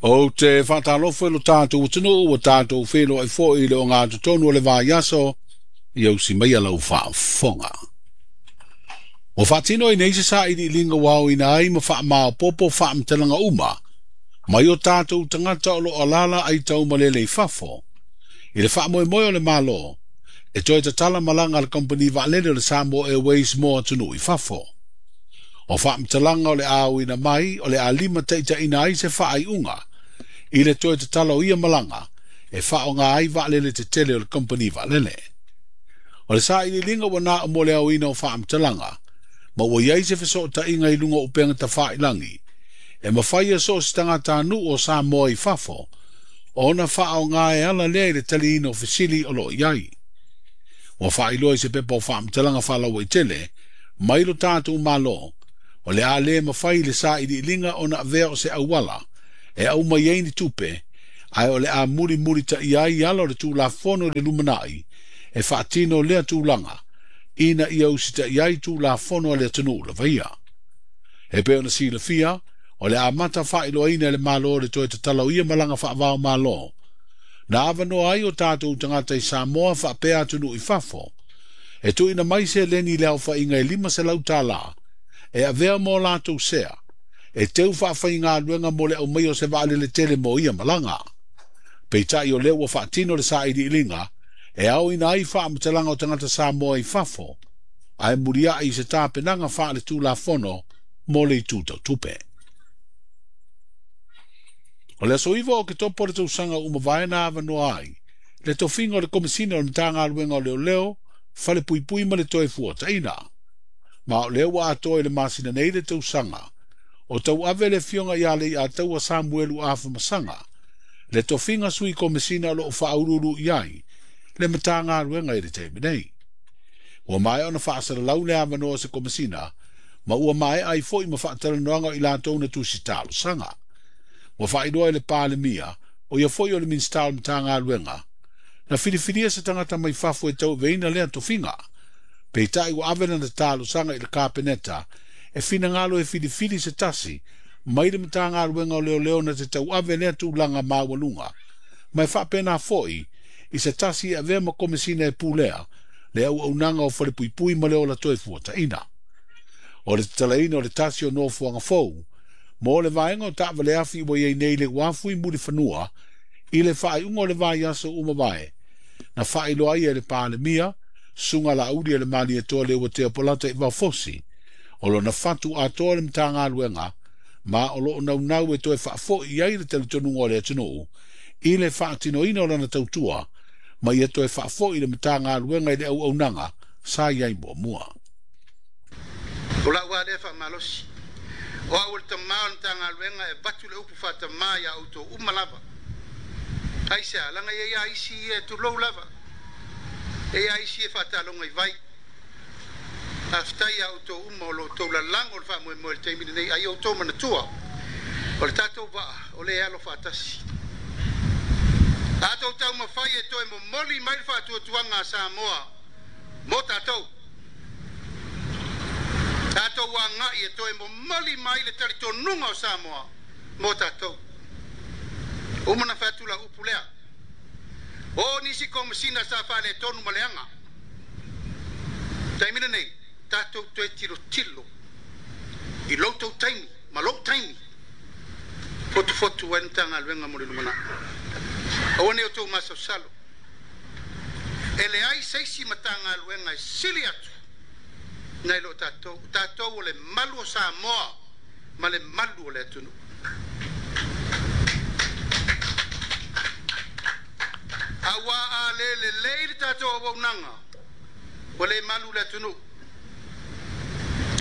Ou te faatalofa i lo tatou atunuu ua tatou feiloai foi i le ogatotonu o le vaiaso ia usi maia lau faafofoga. Ua faatino ai nei se sailiiliga ua aoina ai ma faamaopoopo faamatalaga uma mai o tatou tagata o lo o alaala aitaumalele i fafo i le faamoemoe o le Malo e toe tatala malaga a le kamupani vaalele o le Samoa Airways mo atunuu i fafo. O faamatalaga o le a aoina mai o le a limataitaiina ai se faaiuga i le toe tatala o ia malaga e faaaoga ai vaalele tetele o le kamupani vaalele. O le sailiiliga ua na o mo le aoina o faamatalaga, ma ua i ai se fesootaiga i luga o upega tafailagi, e mafai e so o se tagatanuu o Samoa i fafo ona faaaoga e ala lea i le taliina o fesili o lo o i ai. Ua faailoa i se pepa o faamatalaga faalauaitele mai lo tatou Malo, o le a le mafai le sailiiliga ona avea o se auala e aumai ai ni tupe, ae o le a mulimulitaia ai ala o le Tulafono i le lumanai e faatino lea tulaga ina ia usitaia ai Tulafono a le atunuu lava ia. E pei ona silafia, o le amata faailoaina e le Malo le toe tatala o ia malaga faavao Malo, na avanoa ai o tatou tagata i Samoa faapea atunuu i fafo, e tuuina mai seleni i le aofaiga e $500 e avea mo latou sea, e teu faafaigaluega mo le aumaia o se vaalele tele mo ia malaga. Peitai o lea ua faatino le sailiiliga e aoina ai faamatalaga o tagata Samoa i fafo, ae muliai i se tapenaga faale-tulafono mo le itu tautupe. O le aso 9 o Oketopa o le tausaga ua mavae na avanoa ai le tofiga o le Komesina o le Matagaluega o Leoleo, Falepuipui ma le Toefuataiga. Ma o lea ua atoa i le masina nei le tausaga o tauave le afioga ia Leiataua Samuelu Afamasaga, le tofiga sui komesina o lo o faauluulu i ai le Matagaluega i le taimi nei. Ua maea ona faasalalau le avanoa o se komesina, ma ua maea ai foi ma faatalanoaga o i latou na tusi talosaga. Ua faailoa e le Palemia, o ia foi o le Minisita o le Matagaluega, na filifilia se tagata mai fafo e tauaveina lea tofiga. Peitai ua ave lana talosaga i le Kapeneta e finagalo e filifili se tasi mai le Matagaluega o Leoleo na te tauave lea tulaga maualuga, ma e faapena foi i se tasi e avea ma komesina e pulea le auaunaga o falepuipui ma le ola toefuataiga. O le tatalaina o le tasi o nofoaga fou mo le vaega o taavaleafi ua i ai nei le uafu i Mulifanua i le faaiuga o le vaiaso ua mavae, na faailoa ai e le Palemia, Susuga Laauli e le Malietoa Leuatea Polata i Vaofosi, o lona fatu atoa le Matagaluega, ma o lo o naunau e toe faafoi i ai le talitonuga o le atunuu i le faatinoina o lana tautua, ma ia toe faafoi le Matagaluega i le auaunaga sa i ai muamua. O lau lava lea faamalosi, o au o le tamā o le Matagaluega e avatu le upu faatamā iā outou uma lava. Aisea? Leaga e i ai lava isi ia e tulou lava, e i ai lava isi e faataloga i vai. Faafetai iā outou uma o lo outou lalago le faamoemoe i le taimi lenei, a ia outou manatua, o le tatou vaa o lea e alo faatasi. A outou taumafai e toe momoli mai le faatuatuaga a Samoa mo tatou, tatou agai e toe momoli mai le talitonuga o Samoa mo tatou. Uma ona fai atu lau upu lea, o nisi komesina sa faaletonu ma leaga. Taimi lenei, tatou toe tilotilo i lo outou taimi ma lou taimi, fotufotu ai le Matagaluega mo le lumanai. Aua ne i outou masalosalo, e leai se isi Matagaluega e sili atu nai lo tatou. O tatou o le malu o Samoa ma le malu o le atunuu. Aua a le lelei le tatou auaunaga, ua le malu le atunuu.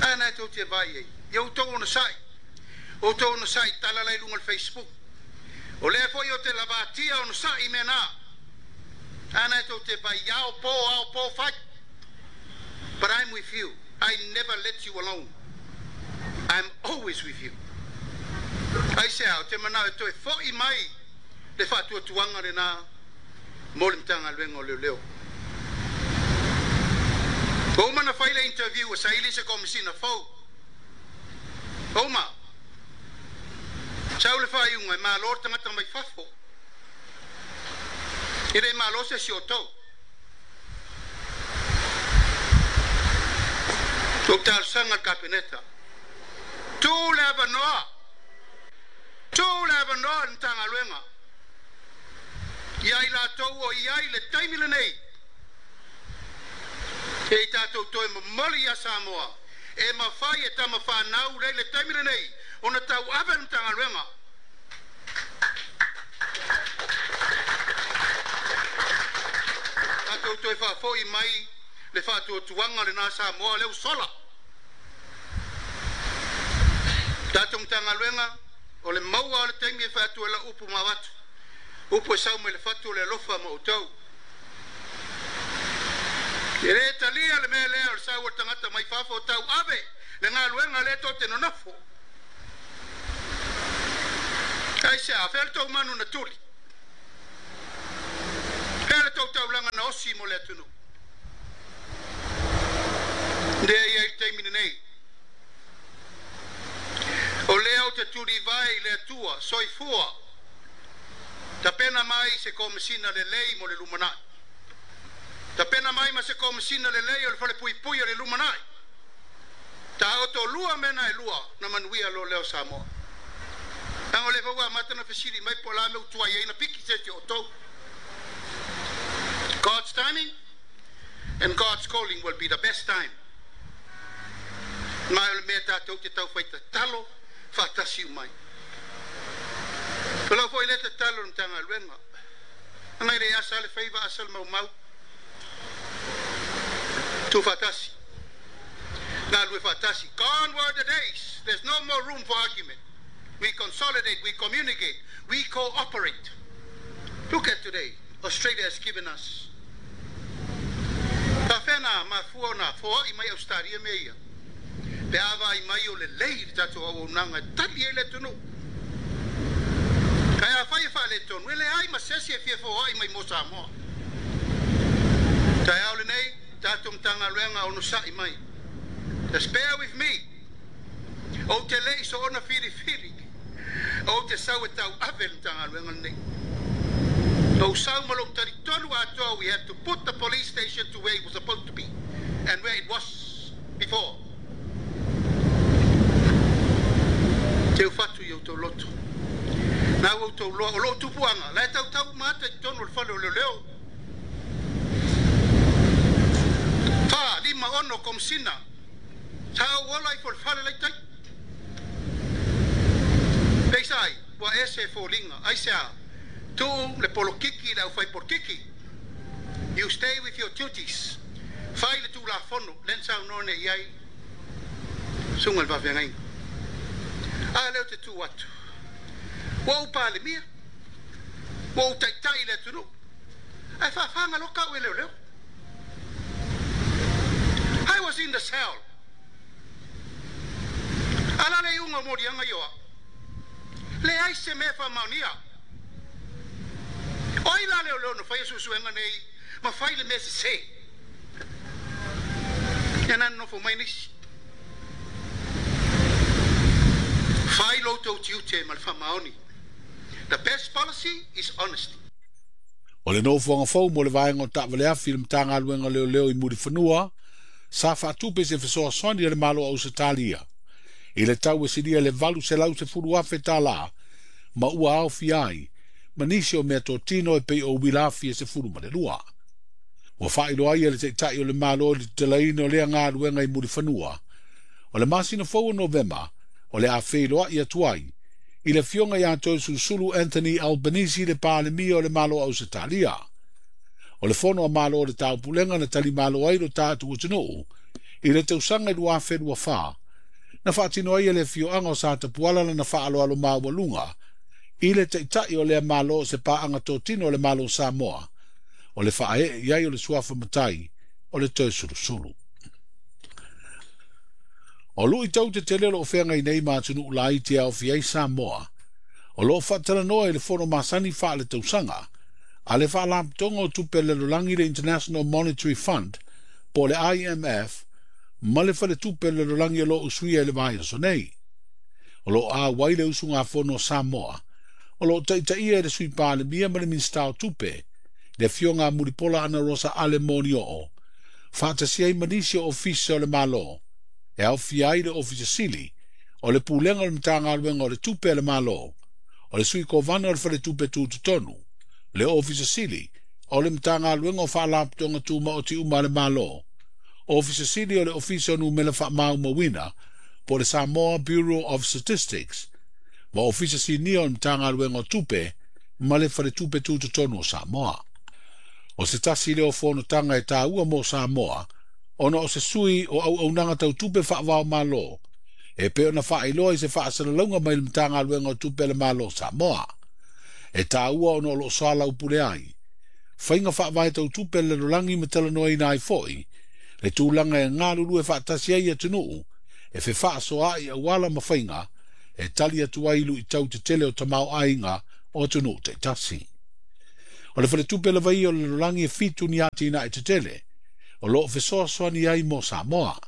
A na e tou te vaai ai, ia outou onosai, outou onosai tala la i luga o le Facebook. O lea foi ou te lavatia onosai i mea na. A na e tou te vaai ao po, ao po fai. But I'm with you. I never let you alone. I'm always with you. Aisea, ou te manao e toe foi mai le faatuatuaga lena mo le Matagaluega o Leoleo. Ua uma ona fai le interview ua saili se Komesina fou. Ua uma. Sau le faaiuga e malo le tagata mai fafo. E le malo se isi o outou. Ua talosaga le Kapeneta, tuu le avanoa, tuu le avanoa i le Matagaluega ia i latou o i ai i le taimi lenei, se i tatou toe momoli ia Samoa e mafai e tama fanau lea i le taimi lenei ona tauave le Matagaluega. Tatou toe faafoi mai le faatuatuaga lena Samoa lea ua sola. Tatou Matagaluega, o le maua o le taimi e fai atu ai lau upu ma avatu. Upu e sau mai le fatu o le alofa ma outou. E le talia le mea lea o le sau o le tagata mai fafo tauave le galuega lea tou te nonofo. Aisea? Fea le tou manu na tuli? Fea le tou taulaga na osi mo le atunuu? Lea e i ai le taimi lenei. O lea ou te tulivae i le Atua, soifua, tapena mai se Komesina lelei mo le lumanai. Tapena mai ma se Komesina lelei o le Falepuipui o le lumanai. Taoto lua mea na e lua na manuia loa lea o Samoa. Leaga o lea foi ua amata ona fesili mai po o le a mea ua tuai ai ona piki se isi o outou. God's timing and God's calling will be the best time. Ma o le mea tatou te taufai tatalo faatasi uma ai. O lau foi lea tatalo i le Matagaluega, leaga e le asa le faiva asa le maumau. Tuufaatasi, galulue faatasi. Gone were the days, there's no more room for argument. We consolidate, we communicate, we cooperate. Look at today, Australia has given us. Faafefea na mafua ona foai mai Ausetalia mea ia? Pe a vaai mai o lelei le tatou auaunaga e tali ai le atunuu. Ae afai e faaletonu, e leai ma se isi e fia foai mai mo Samoa. Taeao lenei, tatou Matagaluega onosai mai. Just bear with me. Ou te le i soona filifili. Ou te sau e tauave le Matagaluega lenei. Lou sau ma lou talitonu atoa, we had to put the police station to where it was supposed to be and where it was before. Teu fatu i outou loto. Na ua outou loa, o lou tupuaga, la e tautau uma ata i totonu o le fale o leoleo. 4, 5, 6 komesina, sa ou ola ifo i le fale lai tai. Peisai, ua ese e foliga, aisea, tuu le polokiki i le aufai polokiki. You stay with your duties. Fai le tulafono, lea na saunoa nei i ai susuga i le faafeagaiga. A lea ou te tu atu, ua ou Palemia, ua ou taitai i le atunuu, ae faafagaloka au e leoleo. I was in the cell. A la le iuga o moliaga ia o au. Leai se mea e faamaonia. O ai la leoleo na faia suesuega nei ma fai le mea sese? Ia na nonofo mai nisi. Fai lo outou tiute ma le faamaoni. The best policy is honesty. O le nofoaga fou mo le vaega o taavaleafi i le Matagaluega o Leoleo i Mulifanua, sa faatupe se fesoasoani a le Malo o Ausetalia i le tau e silia i le $810,000 tala ma ua aofia ai ma nisi o meatotino e pei o uila afi e 12. Ua faailoa ai e le Taitai o le Malo i le tatalaina o lea galuega i Mulifanua, o le masina fou o Novema o le a feiloai atu ai i le Afioga ia Toeolesulusulu Anthony Albanese le Palemia o le Malo o Ausetalia. O le Fono a Malo o le Taupulega na talimalo ai lo tatou atunuu i le tausaga i 2024, na faatino ai e le afioaga o Satapuala lana faaaloalo maualuga i le Taitai o lea Malo o se paaga totino o le Malo o Samoa, o le faaee i ai o le suafa matai o le Toeolesulusulu. O luitau tetele o lo o feagai nei ma atunuu laiti e aofia ai Samoa, o lo o faatalanoa i le fono masani faaletausaga a le Faalapotopotoga o Tupe a le Lalolagi le International Monetary Fund po o le IMF ma le Faletupe o le Lalolagi o lo o usuia i le vaiaso nei. O loo auai le usugafono a Samoa, o loo taitaia e le Sui Palemia ma le Minisita o Tupe, le Afioga a Mulipola Anarosa Ale Molioo, faatasi ai ma nisi o Ofisa o le Malo, e aofia ai le Ofisa Sili, o le Pulega o le Matagaluega o le Tupe a le Malo, o le Sui Kovana o le Faletupe Tutotonu, le Ofisa Sili, o le Matagaluega o Faalapotopotoga Tumaoti uma a le Malo, Ofisa Sili o le Ofisa o Numera Faamaumauina, po o le Samoa Bureau of Statistics, ma Ofisa Sinia o le Matagaluega o Tupe ma le Faletupe Tutotonu o Samoa. O se tasi lea o fonotaga e taua mo Samoa, ona o se sui o auaunaga tau tupe faavaomalo, e pei ona faailoa i se faasalalauga mai le Matagaluega o Tupe a le Malo o Samoa. E taua ona o loo soalaupule ai faiga faavae tau tupe a le lalolagi ma talanoaina ai foi le tulaga e galulue faatasi ai atunuu e fefaasoaai auala ma faiga e tali atu ai luitau tetele o tamaoaiga o atunuu taitasi. O le faletupe lava ia o le lalolagi e 7 ni atinae tetele o loo fesoasoani ai mo Samoa,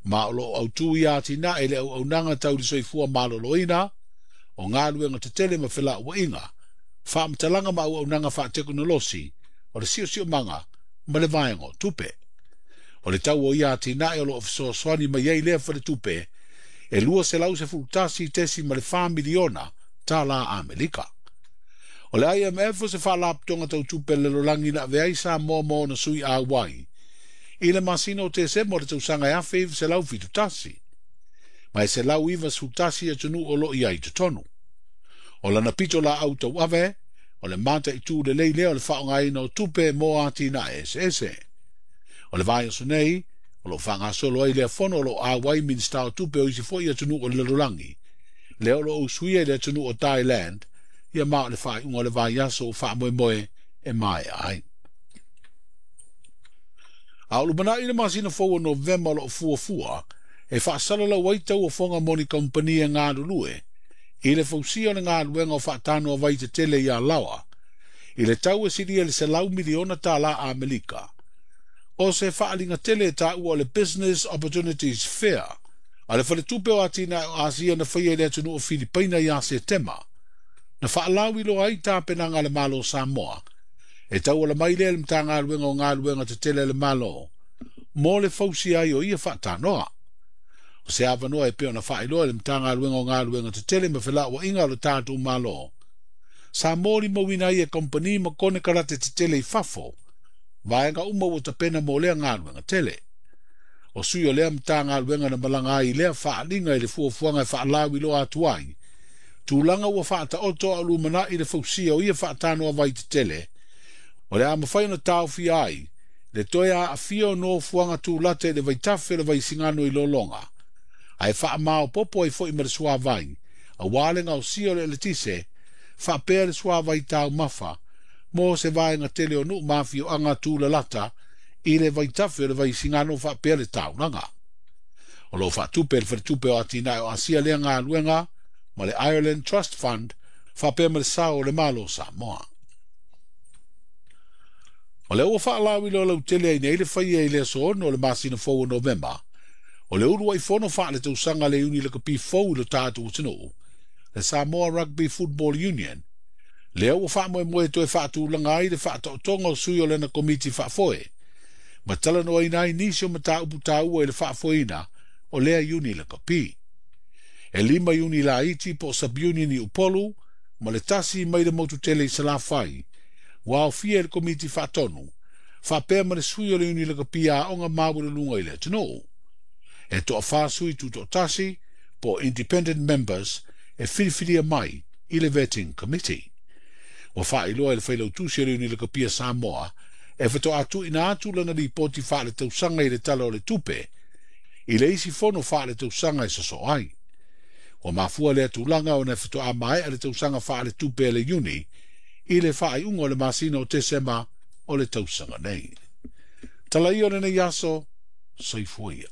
ma o loo autū ia atinae le auaunaga tau le soifua maloloina, o galuega tetele ma felauaiga, faamatalaga ma auaunaga faatekonolosi, o le siosiomaga ma le vaega o tupe. O le tau o ia atinae o loo fesoasoani mai ai lea faletupe e $211.4 miliona tala Amerika. O le IMF o se faalapotopotoga tau tupe a le lalolagi na avea ai Samoa ma ona sui auai i le masina o Tesema o le tausaga 1971, ma e 191 atunuu o loo i ai i totonu. O lana pito laau tauave, o le mataitu lelei lea o le faaaogaina o tupe mo atinae eseese. O le vaiaso nei, o loo faagasolo ai lea fono o loo auai Minisita o Tupe o isi foi atunuu o le lalolagi, lea o loo usuia i le atunuu o Thailand, ia ma o le faaiuga o le vaiaso ua faamoemoe e maea ai. A o lumanai le masina fou o Novema o loo fuafua, e faasalalau ai tauofoga mo ni kamupani e galulue, i le fausia o le galuega o faatanoa vai tetele i Alaoa, i le tau e silia i le $100 miliona tala Amerika. O se faaliga tele e taua o le Business Opportunities Fair, a le faletupe o atinae o Asia na faia i le atunuu o Filipaina ia Setema, na faalauiloa ai tapenaga a le Malo o Samoa, e tauala mai lea i le Matagaluega o Galuega Tetele a le Malo, mo le fausia ai o ia faatanoa. O se avanoa e pei ona faailoa i le Matagaluega o Galuega Tetele ma Felauaiga o le tatou Malo, sa molimauina ai e kamupani ma konekarate tetele i fafo, vaega uma ua tapena mo lea galuega tele. O sui o lea Matagaluega na malaga ai i lea faaliga i le fuafuaga e faalauiloa atu ai, tulaga ua faataoto a o lumanai le fausia o ia faatanoa vai tetele, o le a mafai ona taofia ai le toe aafia o nofoaga tulata i le vaitafe o le Vaisigano i Lologa, ae faamaopopo ai foi ma le suavai, auā le gaosia o le eletise, faapea le suavai taumafa, mo se vaega tele o nuu ma afioaga tulalata i le vaitafe o le Vaisigano faapea le taulaga. O loo faatupe e le Faletupe o Atinae o Asia lea galuega ma le Ireland Trust Fund faapea ma le sao o le Malo o Samoa. O lea ua faalauiloa lautele ai nei le faia i le aso 6 o le masina fou o Novema, o le uluai fono faaletausaga le iuni lakapi fou i lo tatou atunuu, le Samoa Rugby Football Union, lea ua faamoemoe toe faatulaga ai le faataotoga o sui o lana komiti faafoe, ma talanoaina ai nisi o mataupu taua i le faafoeina o lea iuni lakapi. E 5 iuni laiti po o sub-union i Upolu, ma le 1 mai le motu tele i Salafai, ua aofia i le komiti faatonu, faapea ma le sui o le iuni lakapi aoga maualuluga i le atunuu. E toafa sui tutoatasi po o independent members e filifilia mai i le Vetting Committee. Ua faailoa i le failautusi o le iuni lakapi a Samoa e faatoa tuuina atu lana lipoti faaletausaga i le Tala o le Tupe i le isi fono faaletausaga e sosoo ai. Ua mafua lea tulaga ona e faatoa maea le tausaga faaletupe a le iuni i le faaiuga o le masina o Tesema o le tausaga nei. Tala ia o lenei aso, soifua ia.